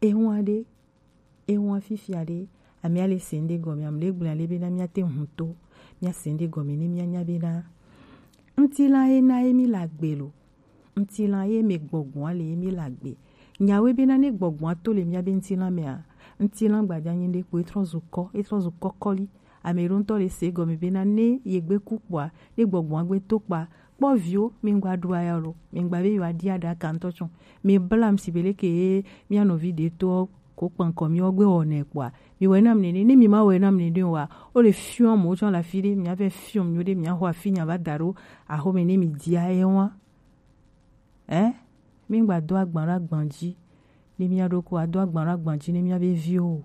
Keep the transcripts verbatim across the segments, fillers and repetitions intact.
Ehun aɖe, ehun afifia ɖe, amia le se ŋɖe gɔme, amle gblɔ ale bena mia te hun to, mia se ŋɖe gɔme ne mia nya bena ŋtilan ye na ye mi le agbe lo. Ŋtilan ye me gbɔgbɔa le ye mi le agbe. Nyawe bena ne gbɔgbɔa to le mia be ŋtilan mea, ŋtilan gbadza nyi ɖe kpo etrɔ zu kɔ, etrɔ zu kɔkɔli. Ame ɖo ŋutɔ le se gɔme bena ne ye gbe ku kpoa, ne gbɔgbɔa gbe to kpoa, kpɔ viwo, mi ŋgba ɖu aya lo, mi ŋgba be yewoa ɖi aɖaka ŋutɔ tsɔ. Mi bla ŋsi be leke ye mia nɔvi ɖe to ko kpankɔ mi wo gbe wɔnɛ kpoa, mi wɛ nam nene, ne mi ma wɛ nam nene wa, o le fiɔ mo tsɔ la fi ɖe, mia vɛ fiɔ mi ɖe, mia xɔ afi nya va da ɖo axome ne mi dia ye wa. Ɛ? Mi ŋgba do agban ɖo agban dzi, ne mia ɖo ko ado agban ɖo agban dzi ne mia be viwo o.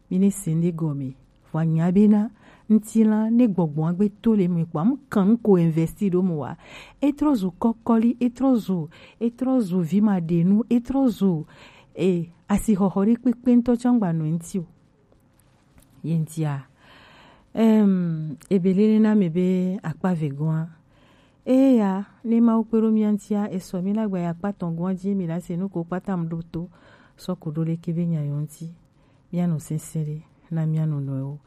Mi ne se ŋɖe gɔme. Vɔ anya bena ŋtilan ne gbɔgbɔa gbe to le mi kpoa, mu kan nu ko investi ɖo mo wa. Etrɔ zu kɔkɔli, etrɔ zu, etrɔ zu vi ma ɖe nu, etrɔ zu, e, asixɔxɔ ɖe kpekpe ŋutɔ tsã ŋgba nɔ ŋti o. Ye ŋtia, em, ebe lele na me be akpa vegɔa. Eya, ne Mawu kpe ɖo mia ŋtia, esɔ mi la gba ya akpa tɔn gɔa dzi mi la se nu ko kpata mu ɖo to, sɔ ko ɖo leke be nya yɔ ŋti. Mia nɔ sese ɖe, na mia nɔ nɔewo.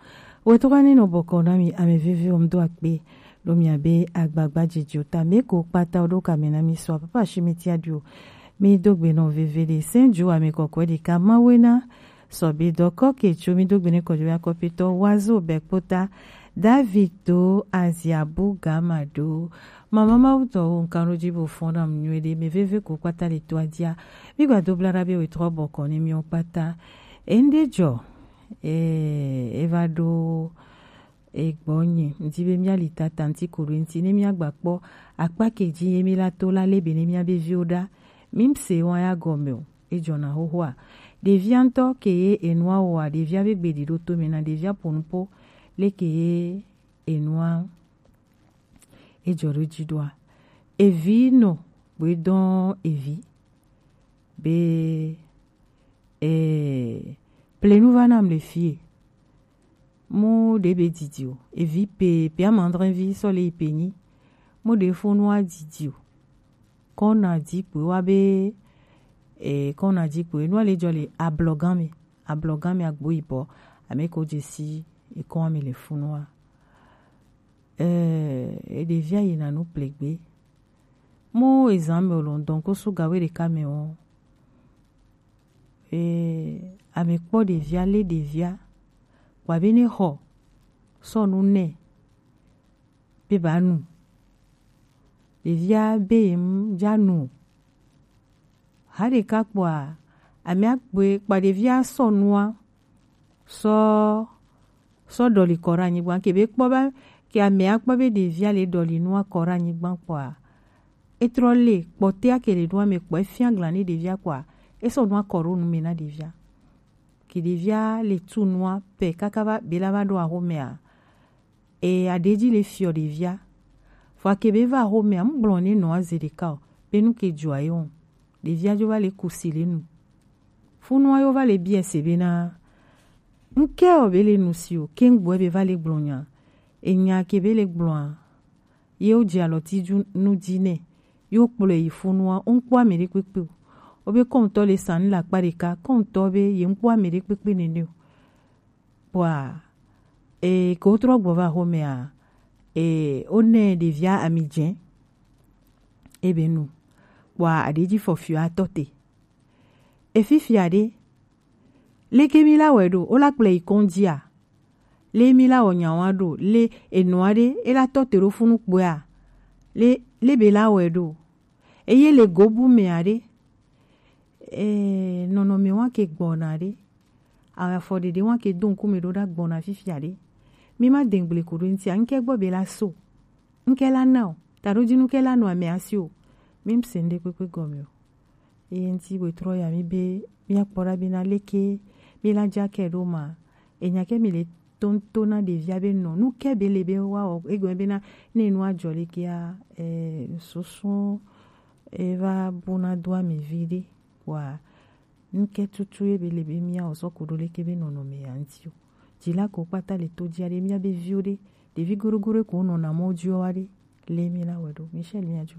Wetɔ kane nɔ bɔkɔ na mi ame veve wo ŋdo akpe, ɖo mia be agbagba dzidzi o ta, me ko kpata wo ɖo kame na mi sɔ, papa shi mi tia dio. Mi do gbe nɔ veve ɖe, sen ju ame kɔkɔe ɖeka, Mawu na, Sɔbe dɔkɔ ke tso mi do gbe ne kɔjo ya kɔpitɔ wazo bɛ kpota. David do azia bu gama do. Mama Mawu tɔ wo nkan ɖo dzi bo fɔn na mu nyuie ɖe, me veve ko kpata le to adia. Mi gba do bla ɖa be we trɔ bɔkɔ ne mi wo kpata. Ende jɔ, eh, eva ɖo egbɔ nye. Ŋdi be mia li tata ŋti ko ɖo ŋti ne mia gba kpɔ akpa ke dzi ye mi la to la le be ne mia be viwo ɖa. Mi ŋse wa ya gɔme o. Ejɔna xoxoa. Ɖevia ŋutɔ ke ye enua wɔa, ɖevia be gbeɖi ɖo to me na ɖevia ƒo nu po leke ye enua ejɔ ɖo dzi ɖoa. Evi nɔ gbe dɔn evi be, eh, plenu va nam le fie. Mo ɖe be didi o. Evi pe, pe amandrin vi sɔ le yi pe nyi. Mo ɖe fo nua didi o. Kɔna di kpo wa be, eh, kɔna di kpo. Enua le jɔ le ablɔgan me. Ablɔgan me agbo yibɔ. Ame ko dze si ekɔn me le fo nua. Eh, e ɖevia yina nu plegbe. Mo ezan me o lɔn dɔn ko su gawe ɖeka me o. Ee, ame kpɔ ɖevia, lé ɖevia, kpɔ abe ne xɔ sɔ nu nɛ be ba nu. Ɖevia be ye mu dza nu o. Ha ɖeka kpɔa, ame akpɔe kpɔ ɖevia sɔ nua sɔ sɔ ɖɔli kɔ ɖe anyigba. Ke be kpɔ be ke amea kpɔ be ɖevia le ɖɔli nua kɔ ɖe anyigba kpɔa, etrɔ le kpɔtea ke le nua me kpɔ efia glan ne ɖevia kpɔa, esɔ nua kɔ ɖo nu me na ɖevia. Ke ɖevia le tu nua pɛ kaka va be la va ɖo axomea, e aɖe dzi le fiɔ ɖevia. Vɔ ke be va axomea, mu gblɔ ne nɔa ze ɖeka o, be nu ke dzɔa ye o. Ɖevia dzo va le kusi le nu. Funua yo va le biɛ se be na, ŋkɛ o be le nu si o, ke ŋgbɔɛ be va le gblɔ nya. Enya ke be le gblɔa, ye wo dze alɔ ti dzu nu dzi nɛ. Yo kplɔe yi funua, wo ŋkpɔ ame ɖe kpekpe o. Wo be kɔntɔ le sa nu le akpa ɖeka, kɔntɔ be ye ŋkpɔ ame ɖe kpekpe nene o. Kpɔa, e, ke wotrɔ gbɔ va axomea, e, wonɛ ɖevia ami dze. Ebe nu. Kpɔa, aɖe dzi fɔfiɔ atɔ te. Efifia ɖe, leke mi la wɛ ɖo, wo la kplɔe yi kɔndzia? Le mi la wɔ nyawa ɖo, le enua ɖe, e la tɔ te ɖo funu kpɔea? Le, le be la wɛ ɖo? Eye le gobu mea ɖe, eh, nɔnɔme wa ke gbɔna ɖe, afɔ ɖeɖe wa ke do ŋkume ɖo ɖa gbɔna fifia ɖe. Mi ma de ŋgble ko ɖo ŋtia, ŋkɛ gbɔ be la so. Ŋkɛ la na o, ta ɖo dzi nu kɛ la nɔ ame asi o. Mi ŋse ŋɖe kpekpe gɔme o. Eye ŋti be trɔ ya mi be, mi akpɔ ɖa be na leke, mi la dza kɛ ɖo ma. Enya kɛ mi le tonto na ɖevia be nɔ. Nu kɛ be le be wa o, egɔme be na, ne nu adzɔ lekea, eh, susu, e va bu na do ame vi ɖe. Wa, ŋkɛ tutu ye be le be mia o sɔ ko ɖo leke be nɔnɔme ya ŋti o. Dzi la ko kpata le to dzi aɖe mia be viwo ɖe. Ɖevi goɖogoɖo ko nɔna mɔ dzi wa ɖe. Le mi la wɛ ɖo. Michel mia dzo.